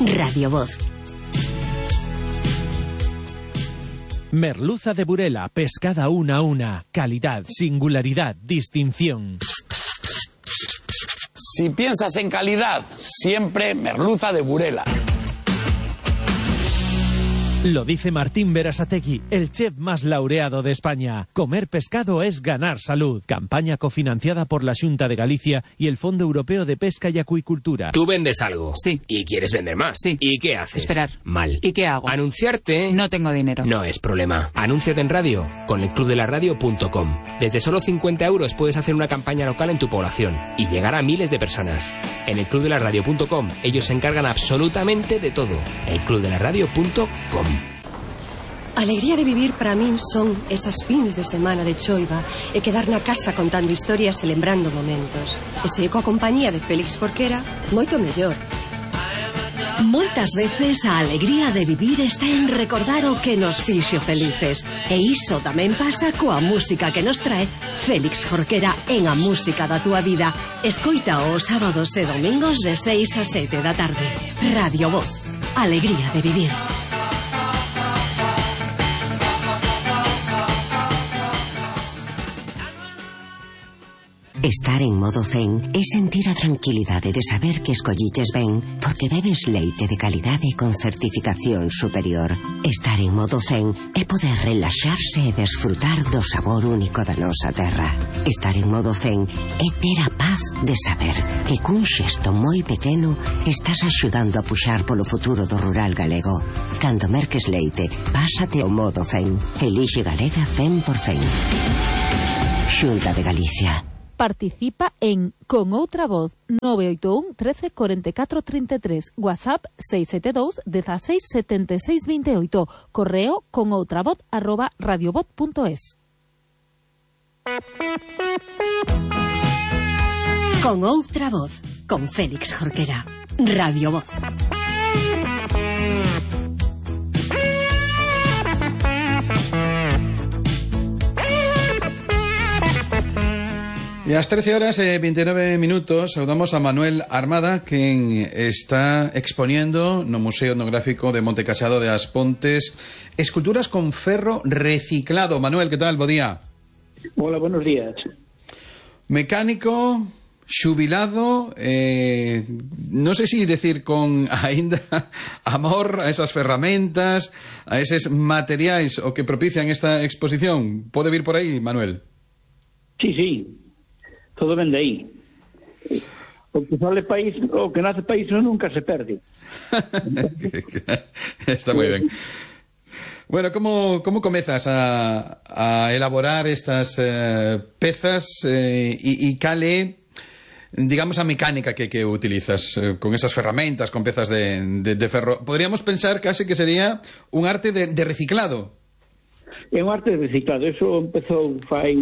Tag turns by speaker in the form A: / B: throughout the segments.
A: Radio Voz.
B: Merluza de Burela, pescada una a una. Calidad, singularidad, distinción.
C: Si piensas en calidad, siempre merluza de Burela.
B: Lo dice Martín Berasategui, el chef más laureado de España. Comer pescado es ganar salud. Campaña cofinanciada por la Xunta de Galicia y el Fondo Europeo de Pesca y Acuicultura.
D: Tú vendes algo.
E: Sí.
D: Y quieres vender más.
E: Sí.
D: ¿Y qué haces?
E: Esperar.
D: Mal.
E: ¿Y qué hago?
D: Anunciarte.
E: No tengo dinero.
D: No es problema. Anúnciate en radio con elclubdelaradio.com. Desde solo 50 euros puedes hacer una campaña local en tu población y llegar a miles de personas. En elclubdelaradio.com ellos se encargan absolutamente de todo. elclubdelaradio.com.
F: Alegría de vivir para min son esas fins de semana de choiva e quedar na casa contando historias e lembrando momentos. E se coa compañía de Félix Jorquera, moito mellor.
A: Moitas veces a alegría de vivir está en recordar o que nos fixo felices. E iso tamén pasa coa música que nos trae Félix Jorquera en A Música da Túa Vida. Escoita os sábados e domingos de 6 a 7 da tarde. Radio Voz. Alegría de vivir.
G: Estar en modo zen é sentir a tranquilidade de saber que escolliches ben porque bebes leite de calidade con certificación superior. Estar en modo zen é poder relaxarse e desfrutar do sabor único da nosa terra. Estar en modo zen é ter a paz de saber que cun xesto moi pequeno estás axudando a puxar polo futuro do rural galego. Cando merques leite, pásate ao modo zen. Elixe Galega 100%. Xunta de Galicia.
H: Participa en Con Outra Voz 981 13 44 33, WhatsApp 672 16 76 28, correo conoutravoz@radiovoz.es.
A: Con Outra Voz, con Félix Jorquera. Radio Voz.
I: E ás 13 horas e 29 minutos saudamos a Manuel Armada, quen está exponiendo no Museo Etnográfico de Monte Casado de As Pontes esculturas con ferro reciclado. Manuel, que tal? Bo día.
J: Hola, buenos días.
I: Mecánico, xubilado, non sei se decir con aínda amor a esas ferramentas, a eses materiais o que propician esta exposición. Pode vir por aí, Manuel?
J: Sí, sí. Todo ven de aí. O que sale país, o que nace país nunca se perde.
I: Está moi ben. Bueno, como comezas a elaborar estas pezas e cale, digamos, a mecánica que utilizas con esas ferramentas, con pezas de ferro? Podríamos pensar case que sería un arte de reciclado.
J: É un arte de reciclado. Eso empezou fai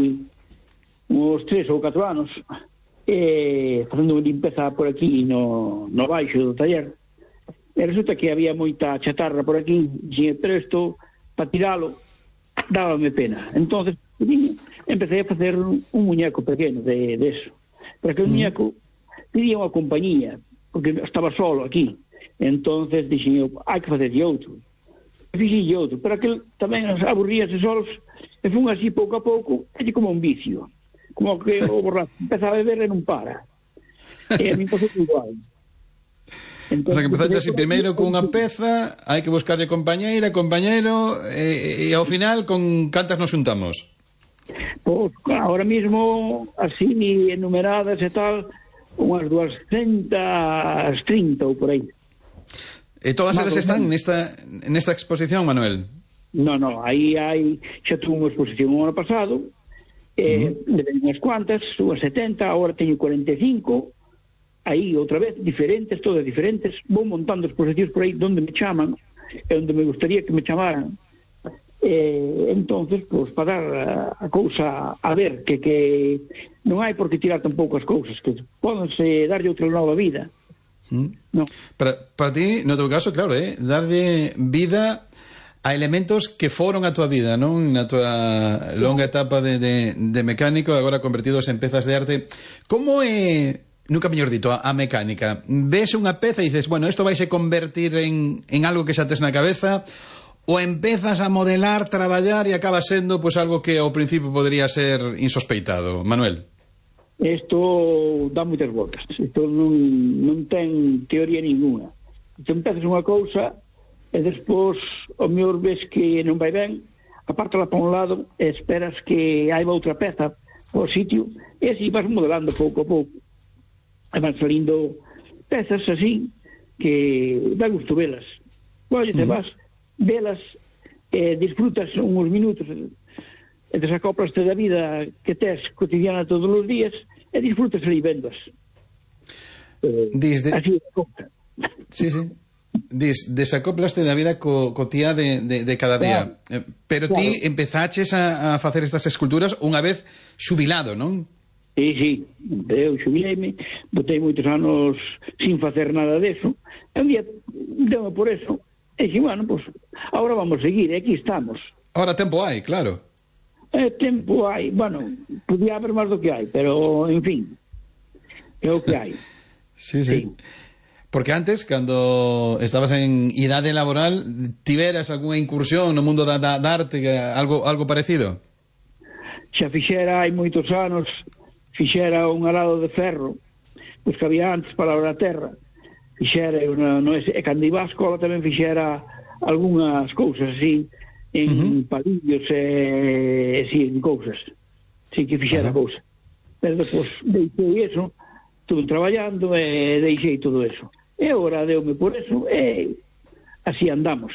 J: uns 3 ou 4 anos, facendo unha limpeza por aquí no baixo do taller, e resulta que había moita chatarra por aquí, pero isto, para tiralo, dábame pena. Entonces empecé a facer un muñeco pequeno de eso. Pero aquele muñeco pedía unha compañía, porque estaba solo aquí. Entonces dixen eu, hai que fazer de outro. Fixen de outro, pero aquel tamén aburríase solos, e fun así pouco a pouco, é como un vicio. Como que o borracho empeza a beber e non para. E a mí pasou igual.
I: Entón, o sea, que empezaste así primeiro cunha peza, hai que buscarle compañeira, compañero, e ao final con cantas nos juntamos?
J: Pois, ahora mismo, así enumeradas e tal, unhas 230 ou por aí.
I: E todas elas están nesta exposición, Manuel?
J: Non, aí xa tuve unha exposición o ano pasado, unhas cuantas, unhas 70, agora teño 45, aí outra vez, diferentes, todas diferentes, vou montando exposicións por aí donde me chaman, e onde me gustaría que me chamaran, entonces, pois, para dar a cousa a ver, que non hai por que tirar tampouco as cousas, que pódense darlle outra nova vida. No.
I: Para ti, no teu caso, claro, darlle vida a elementos que foron a túa vida, non? Na túa longa etapa de mecánico, agora convertidos en pezas de arte. Como é nunca mellor dito, a mecánica. Ves unha peza e dices, bueno, isto vaise convertir en algo que xa tes na cabeza, ou empezas a modelar, traballar e acaba sendo pues, algo que ao principio podría ser insospeitado. Manuel?
J: Isto dá moitas voltas. Isto non ten teoría ninguna. Te empezas unha cousa e despois o mellor ves que non vai ben, apártala para un lado e esperas que haiba outra peza ao sitio e así vas modelando pouco a pouco. E van salindo pezas así que dá gusto velas. Oye, te vas, velas e disfrutas uns minutos e desacoplaste da vida que tes cotidiana todos os días e disfrutas ali vendas. Así é cousa.
I: Sí. Desacoplaste da vida cotía de cada día. Claro. Pero ti empezaches a facer estas esculturas unha vez xubilado, non?
J: Sí. Eu xubileime, botei moitos anos sin facer nada deso. E un día deu por eso. E dixi, bueno, pues, ahora vamos a seguir, aquí estamos.
I: Ahora tempo hai, claro.
J: Tempo hai, bueno, podía haber máis do que hai, pero, en fin, é o que hai.
I: Sí. Porque antes, cando estabas en idade laboral, tiveras algunha incursión no mundo da arte, algo parecido?
J: Xa fixera hai moitos anos, fixera un arado de ferro, pois que había antes para a terra, fixera, e cando iba á escola tamén fixera algunhas cousas así, en palillos e en cousas. Sí que fixera cousas. Pero depois deixei eso, estuve traballando e deixei todo eso. E agora deume por eso e así andamos.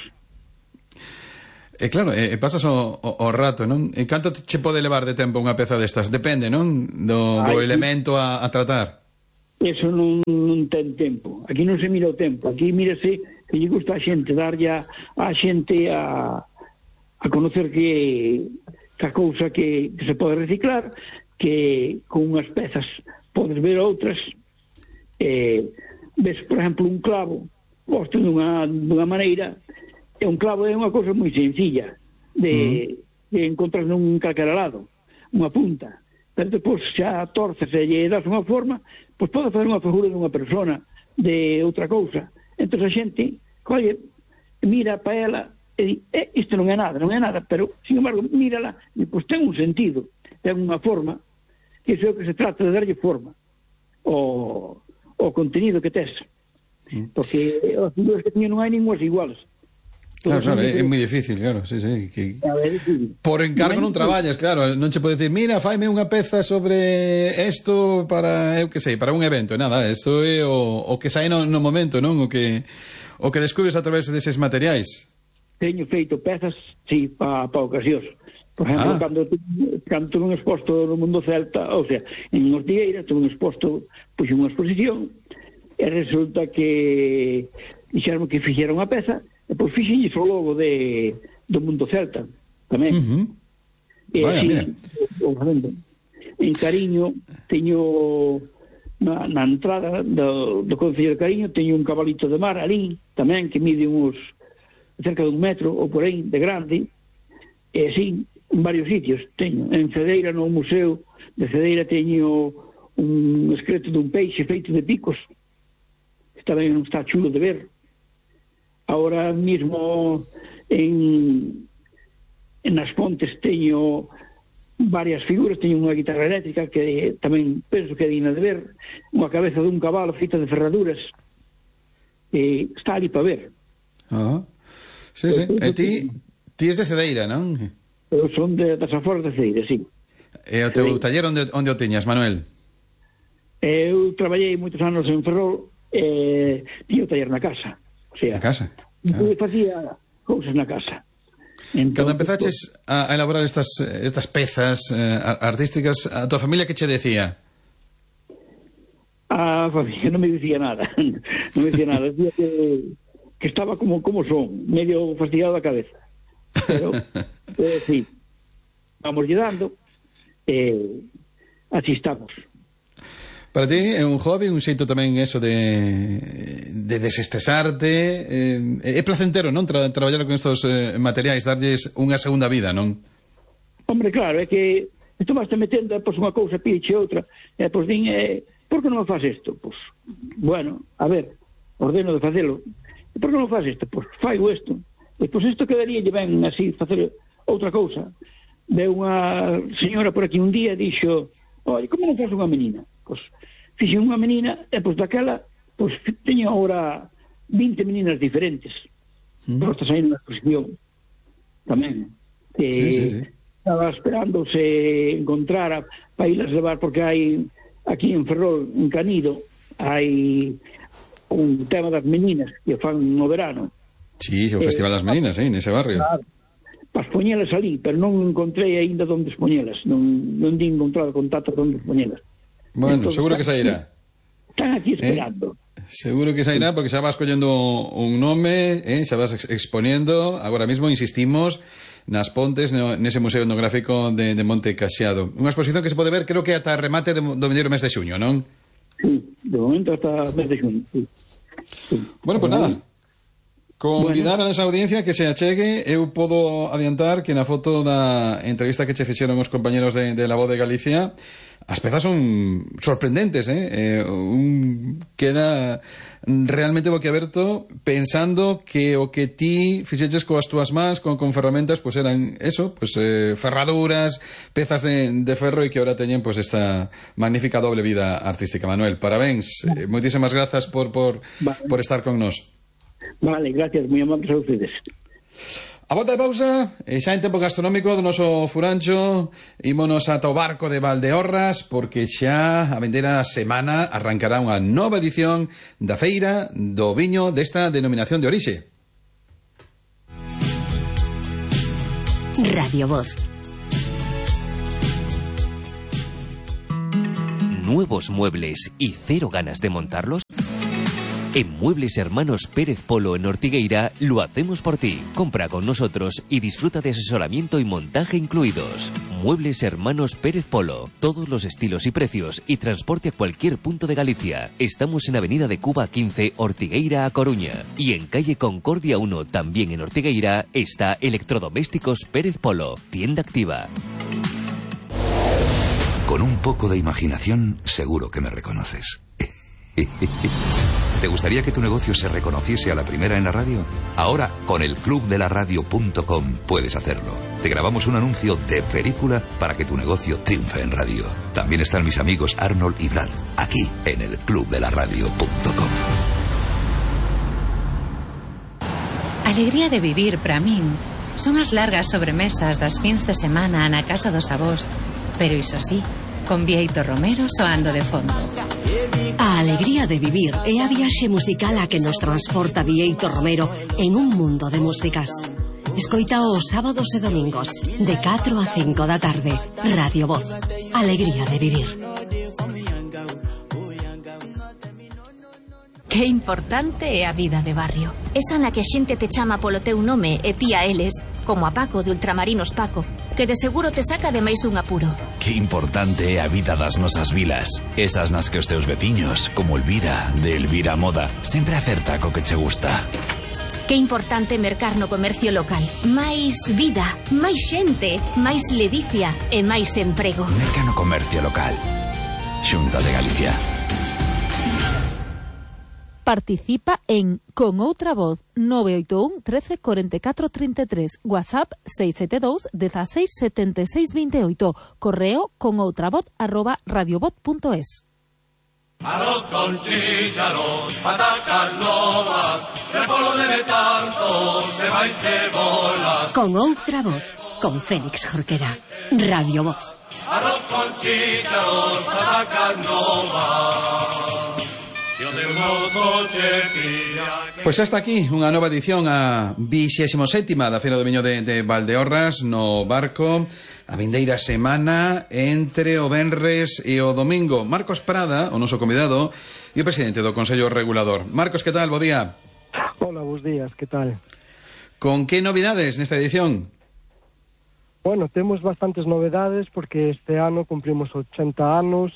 I: E claro, pasas o rato, non? E canto che pode levar de tempo unha peza destas? Depende, non? Do elemento a tratar.
J: Eso non ten tempo. Aquí non se mira o tempo. Aquí mírase que lle gusta a xente, darlle a xente a conocer que a cousa que se pode reciclar, que con unhas pezas podes ver outras. Ves, por exemplo, un clavo posto dunha maneira, e un clavo é unha cousa moi sencilla de encontrar nun calquera lado, unha punta, pero depois xa torces e lle das unha forma, pois pode fazer unha figura dunha persona, de outra cousa. Entón a xente colle, mira para ela e di, isto non é nada, pero, sin embargo, mírala e pois ten un sentido, ten unha forma, que iso é o que se trata de darlle forma ao contenido que tes, porque as figuras que teñen non hai ningumas iguales.
I: Claro, é moi difícil, claro, sí. Por encargo non traballas, claro, non che pode dicir, mira, faime unha peza sobre isto para, eu que sei, para un evento, nada, isto é o que sai no momento, non? O que descubres a través deses materiais.
J: Teño feito pezas, sí, para ocasións. Por exemplo, cando tuve un exposto no mundo celta, ou sea, en Ortigueira, tuve un exposto, puxe unha exposición, e resulta que dixeron que fixera unha peza, e pois fixenlle o logo do mundo celta, tamén.
I: Vaya,
J: así,
I: mira.
J: En Cariño, teño na entrada do Concello de Cariño, teño un cabalito de mar ali, tamén, que mide uns cerca de 1 metro ou por aí de grande, e así en varios sitios teño. En Cedeira, no Museo de Cedeira, teño un esqueleto dun peixe feito de picos, que tamén está chulo de ver. Ahora mismo en As Pontes teño varias figuras, teño unha guitarra eléctrica que tamén penso que é digna de ver, unha cabeza dun cabalo feita de ferraduras, está ali para ver.
I: Sí. E ti es de Cedeira, non?
J: Eu son das aforas de Cedeira, sí.
I: E o teu taller onde o tiñas, Manuel?
J: Eu traballei moitos anos en Ferrol e tiño o taller na casa. O sea,
I: na casa?
J: Eu facía cousas na casa.
I: Entón, cando empezaches a elaborar estas pezas artísticas, a tua familia que che decía?
J: A familia non me dicía nada. Decía que estaba como son, medio fastidiado da cabeza. Pero sí, vamos lle dando, así estamos.
I: Para ti é un hobby, un xeito tamén eso de desestresarte, é placentero, non? Traballar con estos materiais, darlles unha segunda vida, non?
J: Hombre, claro, é que isto vas te metendo, pois unha cousa piche outra, pois din, por que non me faz isto? Pois, bueno, a ver, ordeno de facelo. E por que non faz isto? Pois faigo isto. E pois isto quedaría ben así, facer outra cousa. Veu unha señora por aquí un día e dixo, oi, como non faz unha menina? Pois fixe unha menina e pois daquela, pois teño agora 20 meninas diferentes. Pois está saindo na exposición tamén. Sí. Estaba esperando se encontrara para irlas levar, porque hai aquí en Ferrol, en Canido, hai un tema das meninas que fan no verano.
I: Sí, o Festival das Meninas, nese barrio.
J: Claro, para expoñelas ali, pero non encontrei aínda onde expoñelas, non di encontrado contacto onde expoñelas.
I: Bueno, entonces, seguro que sairá.
J: Están aquí esperando.
I: Seguro que sairá, porque xa vas collendo un nome, xa vas exponendo. Agora mesmo insistimos nas Pontes, nese Museo Etnográfico de Monte Caxiado. Unha exposición que se pode ver, creo que ata remate do vindeiro mes de xuño, non?
J: Sí, de momento ata mes de xuño, sí.
I: Bueno, pues nada, convidar a esa audiencia que se achegue. Eu podo adiantar que na foto da entrevista que che fixeron os compañeros de La Voz de Galicia, as pezas son sorprendentes, queda realmente boquiaberto pensando que o que ti fixeches coas túas mans, con ferramentas, pues eran eso, pues ferraduras, pezas de ferro, e que ahora teñen pues esta magnífica doble vida artística. Manuel, parabéns, moitísimas grazas por estar con nós.
J: Vale, gracias, moi amables a ustedes.
I: A volta de pausa, xa en tempo gastronómico do noso furancho, ímonos ata o barco de Valdeorras, porque xa a vindeira semana arrancará unha nova edición da feira do viño desta denominación de orixe.
A: Radio Voz.
E: ¿Nuevos muebles y cero ganas de montarlos? En Muebles Hermanos Pérez Polo en Ortigueira lo hacemos por ti. Compra con nosotros y disfruta de asesoramiento y montaje incluidos. Muebles Hermanos Pérez Polo. Todos los estilos y precios y transporte a cualquier punto de Galicia. Estamos en Avenida de Cuba 15, Ortigueira a Coruña. Y en calle Concordia 1, también en Ortigueira, está Electrodomésticos Pérez Polo. Tienda activa.
K: Con un poco de imaginación, seguro que me reconoces. ¿Te gustaría que tu negocio se reconociese a la primera en la radio? Ahora, con el clubdelaradio.com puedes hacerlo. Te grabamos un anuncio de película para que tu negocio triunfe en radio. También están mis amigos Arnold y Brad, aquí en el clubdelaradio.com.
L: Alegría de vivir para min son as largas sobremesas das fins de semana na casa dos avós, pero iso sí, con Bieito Romero soando de fondo.
A: A alegría de vivir é a viaxe musical a que nos transporta Bieito Romero en un mundo de músicas. Escoita os sábados e domingos de 4 a 5 da tarde. Radio Voz. Alegría de vivir.
M: Que importante é a vida de barrio. Esa na que a xente te chama polo teu nome e ti a eles, como a Paco de Ultramarinos Paco, que de seguro te saca de máis dun apuro.
N: Que importante é a vida das nosas vilas. Esas nas que os teus veciños, como Elvira, de Elvira Moda, sempre acerta co que che gusta.
M: Que importante mercar no comercio local. Máis vida, máis xente, máis ledicia e máis emprego.
N: Merca no comercio local. Xunta de Galicia.
H: Participa en Con Outra Voz 981 13 44 33, WhatsApp 672 16 76 28, correo conoutravoz@radiovoz.es.
O: Arroz con chícharos, patacas novas, repolo de tanto, se va y cebolas.
A: Con Outra Voz, con Félix Jorquera. Radio Voz.
O: Arroz con chícharos, patacas novas.
I: Pois hasta aquí unha nova edición, a 27ª da Feira do Viño de Valdeorras, no barco, a vindeira semana entre o venres e o domingo. Marcos Prada, o noso convidado, e o presidente do Consello Regulador. Marcos, que tal? Bo día.
P: Hola, bos días, que tal?
I: Con que novidades nesta edición?
P: Bueno, temos bastantes novedades porque este ano cumprimos 80 anos.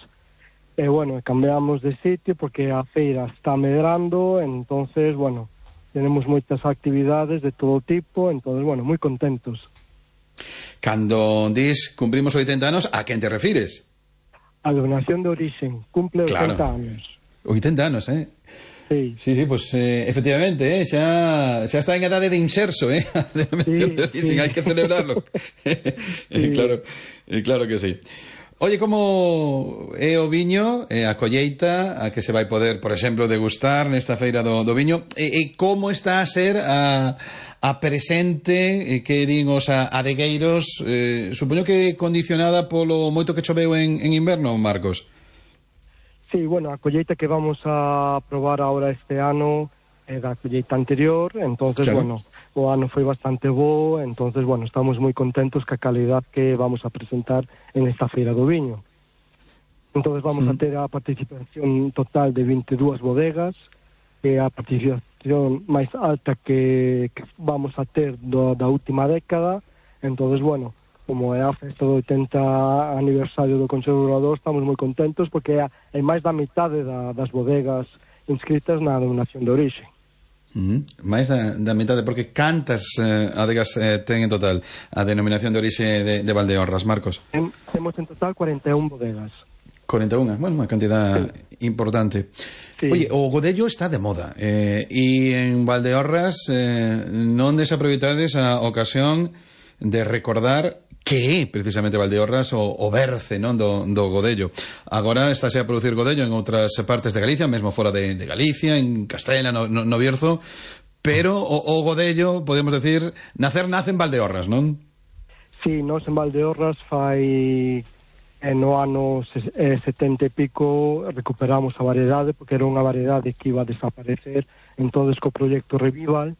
P: E, bueno, cambiamos de sitio porque a feira está medrando, entonces, bueno, tenemos moitas actividades de todo tipo, entonces, bueno, moi contentos.
I: Cando dis cumprimos 80 anos, a quen te refires?
P: A denominación de origen cumple 80 anos.
I: 80 anos,
P: Sí.
I: Sí, pues efectivamente, xa está en edade de inserso, a denominación de origen, hai que celebrarlo. Claro que sí. Oye, como é o viño, a colleita, a que se vai poder, por exemplo, degustar nesta feira do viño, e como está a ser a presente que din os adegueiros, supoño que condicionada polo moito que choveu en inverno, Marcos?
P: Sí, bueno, a colleita que vamos a probar ahora este ano é da colleita anterior, entonces, bueno, o ano foi bastante bo, entonces, bueno, estamos moi contentos ca calidad que vamos a presentar en esta feira do viño. Entonces vamos a ter a participación total de 22 bodegas, que é a participación máis alta que vamos a ter da última década, entonces, bueno, como é a festa do 80 aniversario do Consello Regulador, estamos moi contentos porque hai máis da mitade das bodegas inscritas na denominación de orixe.
I: Máis da mitade, porque cantas adegas ten en total a denominación de orixe de Valdeorras, Marcos?
P: Temos en total 41 bodegas.
I: 41, bueno, unha cantidad importante. Sí. Oye, o godello está de moda, e en Valdeorras non desaproveitades a ocasión de recordar que é precisamente Valdeorras o berce, non, do godello. Agora estáse a producir godello en outras partes de Galicia, mesmo fora de Galicia, en Castela, no Bierzo, pero o godello, podemos decir, nace en Valdeorras, non?
P: Sí, nós en Valdeorras fai no ano 70 e pico recuperamos a variedade, porque era unha variedade que iba a desaparecer, entonces co proxecto Revival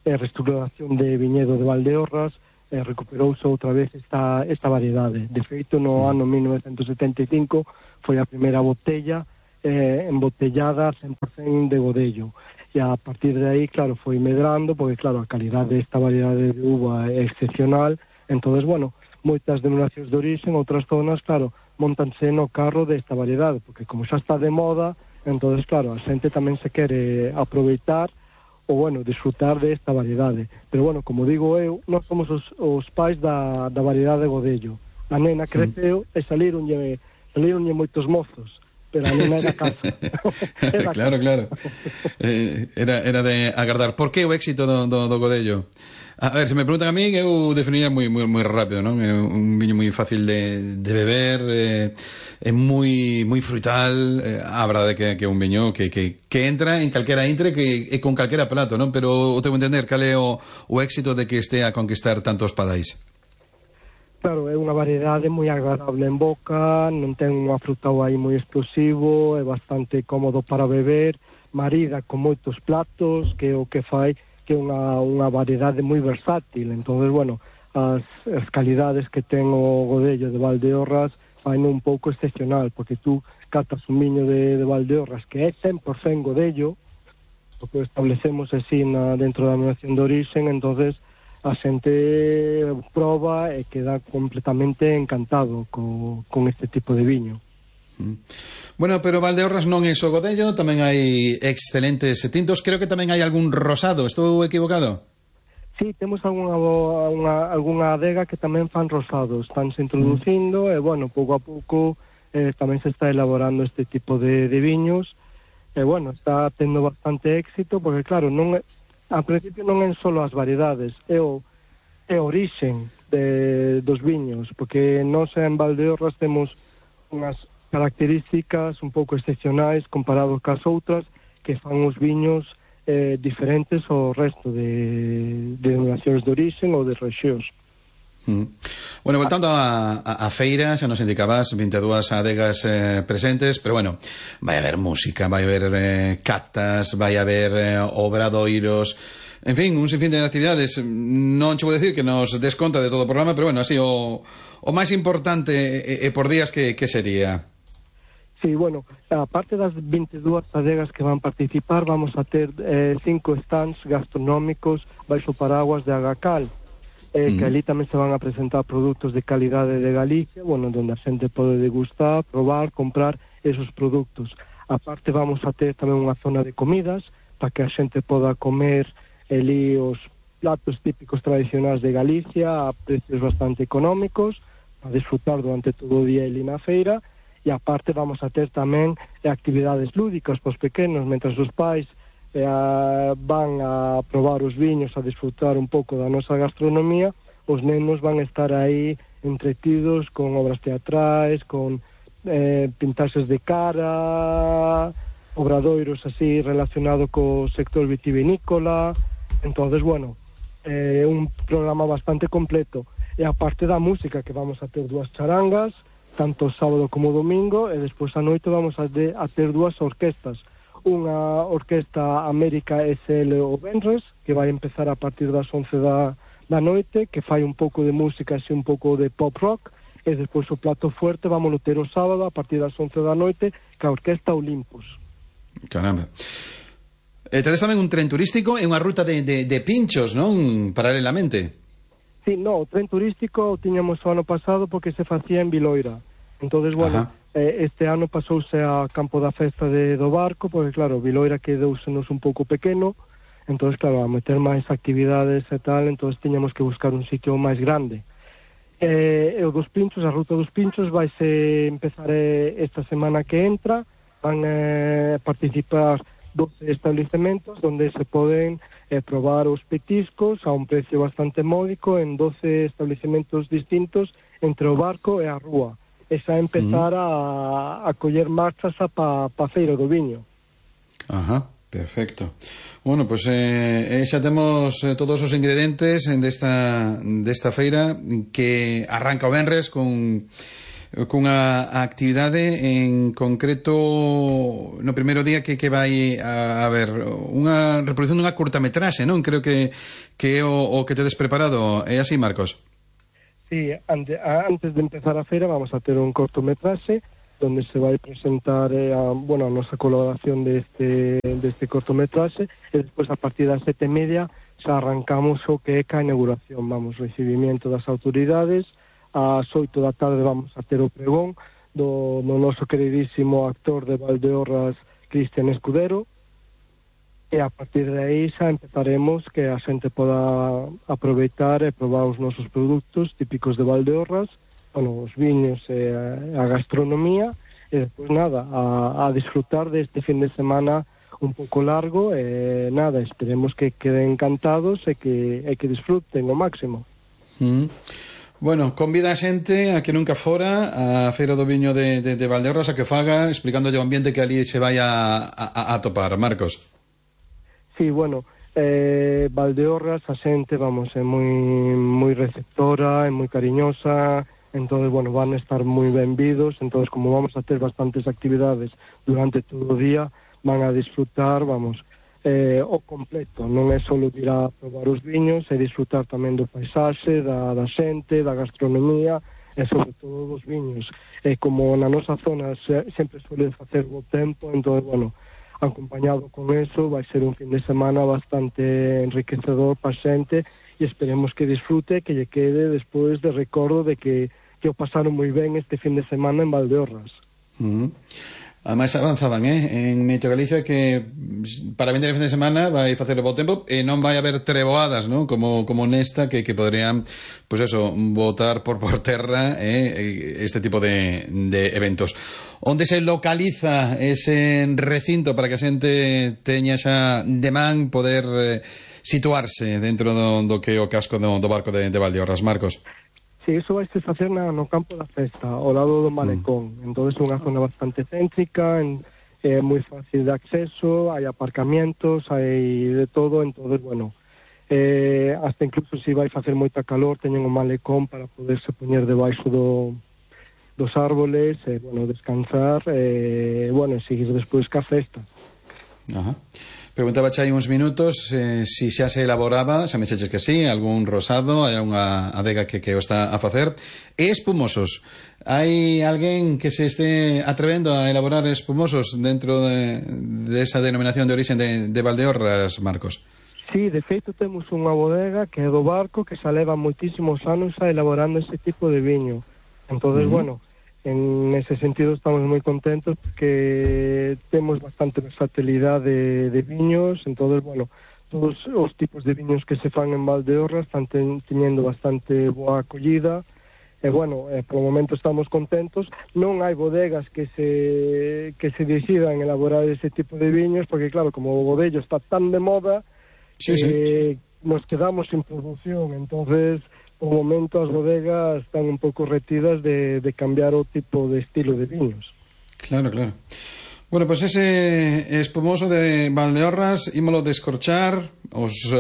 P: e restauración de viñedo de Valdeorras recuperouse outra vez esta variedade. De feito, no ano 1975 foi a primeira botella embotellada 100% de godello. E a partir de aí, claro, foi medrando, porque, claro, a calidade desta variedade de uva é excepcional. Entonces, bueno, moitas denominacións de origen, outras zonas, claro, montanse no carro desta variedade, porque como xa está de moda, entonces, claro, a xente tamén se quere aproveitar ou, bueno, disfrutar desta variedade. Pero, bueno, como digo eu, nós somos os pais da variedade de godello. A nena creceu e salironlle moitos mozos, pero a nena era casa.
I: Claro. Era de agardar. Por que o éxito do godello? A ver, se me preguntan a mí, eu definiría moi rápido, non? É un viño moi fácil de beber, é moi frutal, a verdade que é un viño que entra en calquera intre e con calquera plato, non? Pero o tengo que entender cal é o éxito de que este a conquistar tantos padais.
P: Claro, é unha variedade moi agradable en boca, non ten unha frutao aí moi explosivo, é bastante cómodo para beber, marida con moitos platos, que é o que fai que é unha variedade moi versátil. Entonces, bueno, as calidades que ten o godello de Valdeorras faino un pouco excepcional, porque tú catas un viño de Valdeorras que é 100% godello, o que establecemos así dentro da denominación de origen, entonces a xente proba e queda completamente encantado con este tipo de viño.
I: Bueno, pero Valdeorras non é só godello, tamén hai excelentes tintos, creo que tamén hai algún rosado, estou equivocado?
P: Sí, temos algunha adega que tamén fan rosados, estánse introducindo e, bueno, pouco a pouco tamén se está elaborando este tipo de viños e, bueno, está tendo bastante éxito porque, claro, ao principio non é só as variedades, é o orixen dos viños, porque nós en Valdeorras temos unhas características un pouco excepcionais comparados cas outras que fan os viños diferentes ao resto de denominacións de origen ou de rexións.
I: Bueno, voltando a feira, xa nos indicabas 22 adegas presentes, pero bueno, vai haber música, vai haber catas, vai haber obradoiros, en fin, un sinfín de actividades. Non che vou decir que nos desconta de todo o programa, pero bueno, así o máis importante por días que sería.
P: Sí, bueno, aparte das 22 adegas que van participar, vamos a ter 5 stands gastronómicos baixo paraguas de Agacal, que ali tamén se van a presentar produtos de calidade de Galicia, bueno, donde a xente pode degustar, probar, comprar esos produtos. Aparte vamos a ter tamén unha zona de comidas, para que a xente poda comer ali os platos típicos tradicionais de Galicia a precios bastante económicos, para disfrutar durante todo o día ali na feira. e aparte vamos a ter tamén actividades lúdicas pos pequenos, mentras os pais van a probar os viños, a disfrutar un pouco da nosa gastronomía, os nenos van a estar aí entretidos con obras teatrais, con pintaxes de cara, obradoiros así relacionado co sector vitivinícola. Entonces, bueno, un programa bastante completo. E aparte da música, que vamos a ter 2 charangas, tanto sábado como domingo, e despois a noite vamos a ter 2 orquestas. Unha orquesta América SL o Benres, que vai empezar a partir das 11 da noite, que fai un pouco de música e un pouco de pop rock, e despois o plato fuerte vamos ter o sábado a partir das 11 da noite, que a orquesta Olympus.
I: Caramba. Tedes tamén un tren turístico e unha ruta de pinchos, non? Paralelamente.
P: Sí, no, o tren turístico o tiñamos o ano pasado porque se facía en Viloira. Entonces, bueno, este ano pasouse a campo da festa do barco, porque claro, Viloira quedousenos un pouco pequeno, entonces claro, a meter máis actividades e tal, entonces tiñamos que buscar un sitio máis grande. E o dos pinchos, a ruta dos pinchos vaise empezar esta semana que entra, van a participar 12 estabelecementos donde se poden probar os petiscos a un precio bastante módico en 12 estabelecementos distintos entre o barco e a rúa. E xa empezar a coller marchas pa feira do viño.
I: Ajá, perfecto. Bueno, pues xa temos todos os ingredientes desta feira que arranca o venres cunha actividade en concreto no primeiro día que vai a haber unha reproducción dunha curtametraxe, non? Creo que é o que tedes preparado. É así, Marcos?
P: Sí, antes de empezar a feira vamos a ter un cortometraxe donde se vai presentar a nosa colaboración deste cortometraxe, e despois a partir das 7:30 xa arrancamos o que é a inauguración, recibimiento das autoridades. Ás 8 da tarde vamos a ter o pregón do noso queridísimo actor de Valdeorras, Cristian Escudero, e a partir de aí xa empezaremos que a xente poda aproveitar e probar os nosos produtos típicos de Valdeorras, os viños e a gastronomía, e despois nada, a disfrutar deste fin de semana un pouco largo, e nada, esperemos que queden encantados e que disfruten ao máximo.
I: Bueno, convida a xente a que nunca fora a Feira do Viño de Valdeorras a que faga, explicándolle o ambiente que ali se vai a topar, Marcos.
P: Sí, bueno, Valdeorras, a xente, é moi receptora, é moi cariñosa, entonces, bueno, van a estar moi benvidos, entonces, como vamos a ter bastantes actividades durante todo o día, van a disfrutar, o completo, non é só ir a probar os viños, é disfrutar tamén do paisaxe, da xente, da gastronomía e sobre todo dos viños. E como na nosa zona sempre suele facer bo tempo, entón, bueno, acompañado con eso vai ser un fin de semana bastante enriquecedor para a xente, e esperemos que disfrute, que lle quede despois de recordo de que o pasaron moi ben este fin de semana en Valdeorras.
I: Ademais avanzaban, en Meteo Galicia, que para vender el fin de semana vai facer o bo tempo e non vai haber treboadas, non? Como nesta que poderían, botar por terra este tipo de eventos. Onde se localiza ese recinto para que a xente teña xa de man poder situarse dentro do que é o casco do barco de Valdeorras, Marcos?
P: Sí, iso vai se facer no campo da festa, ao lado do malecón. Entonces é unha zona bastante céntrica, é moi fácil de acceso, hai aparcamientos, hai de todo, entonces, bueno, hasta incluso se vai facer moita calor, teñen un malecón para poderse poñer debaixo dos árboles, descansar, e seguir despois ca festa.
I: Ajá. Preguntaba xa hai uns minutos si xa se elaboraba, xa me xeches que sí, algún rosado, hai unha adega que o está a facer. E espumosos, hai alguén que se este atrevendo a elaborar espumosos dentro de esa denominación de origen de Valdeorras, Marcos?
P: Sí, de feito temos unha bodega que é do barco, que xa leva moitísimos anos elaborando ese tipo de viño. Entonces, bueno, en ese sentido estamos moi contentos porque temos bastante versatilidade de viños, entonces, bueno, todos os tipos de viños que se fan en Valdeorras están teñendo bastante boa acollida, por o momento estamos contentos. Non hai bodegas que se decidan elaborar ese tipo de viños, porque claro, como o bodello está tan de moda, nos quedamos sin producción. Entonces, por o momento as bodegas están un pouco retidas de cambiar o tipo de estilo de viños.
I: Claro. Bueno, pues ese espumoso de Valdeorras ímolo descorchar os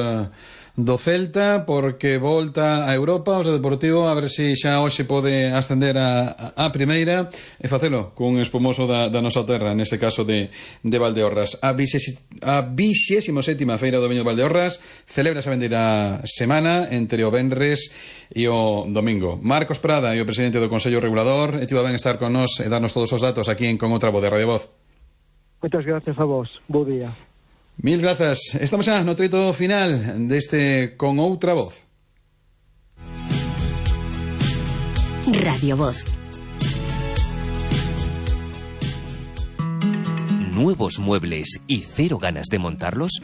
I: do Celta, porque volta a Europa, os do Deportivo, a ver se xa hoxe pode ascender a primeira e facelo cun espumoso da nosa terra, neste caso de Valdeorras. A 27ª Feira do Viño de Valdeorras celebra esa vendeira semana entre o venres e o domingo. Marcos Prada e o presidente do Consello Regulador estivo ben estar con nós e darnos todos os datos aquí en Con Outra Voz de Radio Voz.
P: Moitas gracias a vos, bo día.
I: Mil grazas. Estamos xa no treito final deste Con Outra Voz.
A: Radio Voz.
E: ¿Nuevos muebles y cero ganas de montarlos?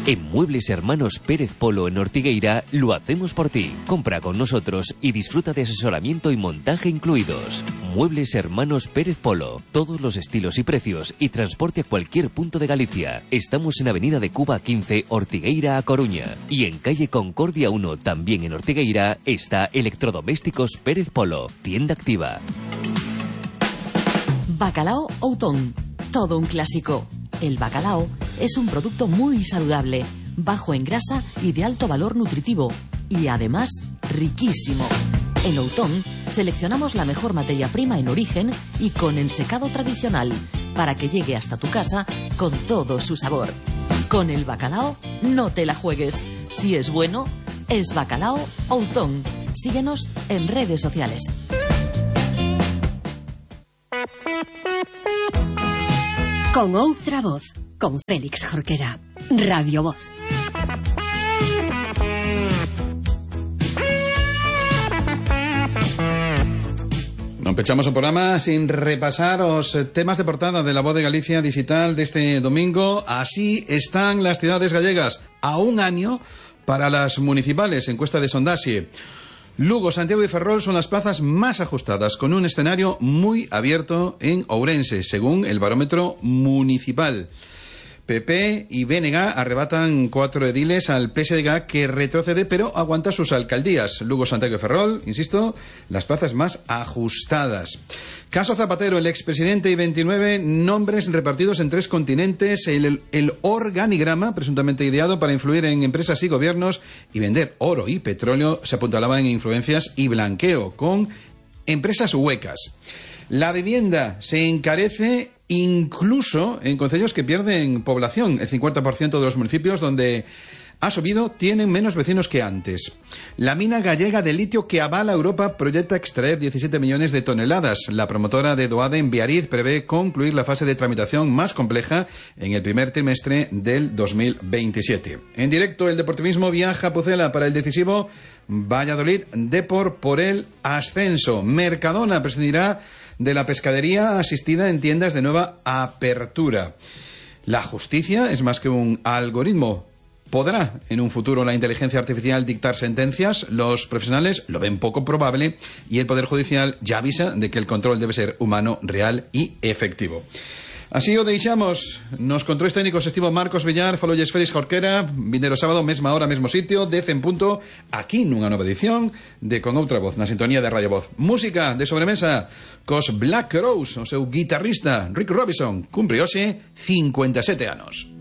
E: En Muebles Hermanos Pérez Polo en Ortigueira lo hacemos por ti. Compra con nosotros y disfruta de asesoramiento y montaje incluidos. Muebles Hermanos Pérez Polo. Todos los estilos y precios y transporte a cualquier punto de Galicia. Estamos en Avenida de Cuba 15, Ortigueira a Coruña. Y en Calle Concordia 1, también en Ortigueira, está Electrodomésticos Pérez Polo. Tienda activa.
Q: Bacalao Outón. Todo un clásico. El bacalao es un producto muy saludable, bajo en grasa y de alto valor nutritivo, y además riquísimo. En Outón seleccionamos la mejor materia prima en origen y con ensecado tradicional, para que llegue hasta tu casa con todo su sabor. Con el bacalao no te la juegues. Si es bueno, es Bacalao Outón. Síguenos en redes sociales.
A: Con Outra Voz, con Félix Jorquera. Radio Voz.
I: Non pechamos o programa sin repasar os temas de portada de La Voz de Galicia digital deste domingo. Así están las ciudades gallegas a un año para las municipales, encuesta de Sondaxe. Lugo, Santiago y Ferrol son las plazas más ajustadas, con un escenario muy abierto en Ourense, según el barómetro municipal. PP y BNG arrebatan 4 ediles al PSDG, que retrocede pero aguanta sus alcaldías. Lugo, Santiago y Ferrol, insisto, las plazas más ajustadas. Caso Zapatero, el expresidente y 29 nombres repartidos en 3 continentes. El organigrama, presuntamente ideado para influir en empresas y gobiernos y vender oro y petróleo, se apuntalaba en influencias y blanqueo con empresas huecas. La vivienda se encarece incluso en concellos que pierden población. El 50% de los municipios donde ha subido tienen menos vecinos que antes. La mina gallega de litio que avala Europa proyecta extraer 17 millones de toneladas. La promotora de Doade en Biarritz prevé concluir la fase de tramitación más compleja en el primer trimestre del 2027. En directo, el deportivismo viaja a Pucela para el decisivo Valladolid Depor por el ascenso. Mercadona prescindirá de la pescadería asistida en tiendas de nueva apertura. La justicia es más que un algoritmo. ¿Podrá en un futuro la inteligencia artificial dictar sentencias? Los profesionales lo ven poco probable y el Poder Judicial ya avisa de que el control debe ser humano, real y efectivo. Así o deixamos. Nos controles técnicos estivo Marcos Villar, falolles Félix Jorquera. Vindeiro sábado, mesma hora, mesmo sitio, 10 en punto, aquí nunha nova edición de Con Outra Voz, na sintonía de Radio Voz. Música de sobremesa cos Black Crowes, o seu guitarrista Rick Robinson, cumpre hoxe 57 anos.